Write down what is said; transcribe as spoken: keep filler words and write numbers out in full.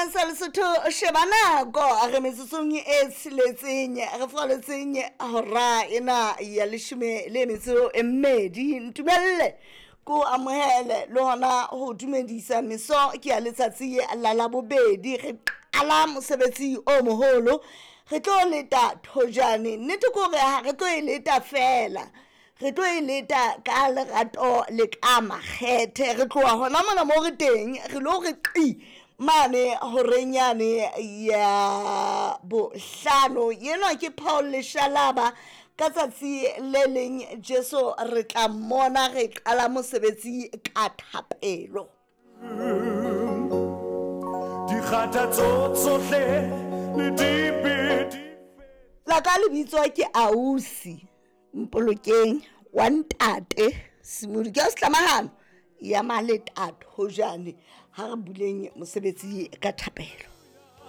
Setjhabeng sa Lesotho, sheba nako re metsotsong e tsheletseng re faletseng hora ena ya leshome le metso e mmedi. Ntumelle ko amohele le hona ho dumedisa meso ke ya letsatsi la Labobedi. Re qala mosebetsi o moholo, re tlo leta thojane. Nnete ke hore ha re tlo e leta fela, re tlo e leta ka lerato le ka makgethe. Re tloha hona mona mo re teng, re lo re qi mane horeng yane ya bohlano. Enwa ke Paul Leshalaba. Ka tsatsi le leng Jesu re tla mmona. Re qala mosebetsi ka thapelo. Dikgathatso tsohle le dibe di La ka lebitso ke Ausi Mpolokeng wa ntate Simodi ke setlamahano ya maleta thojane. Ha re buleng mosebetsi ka thapelo.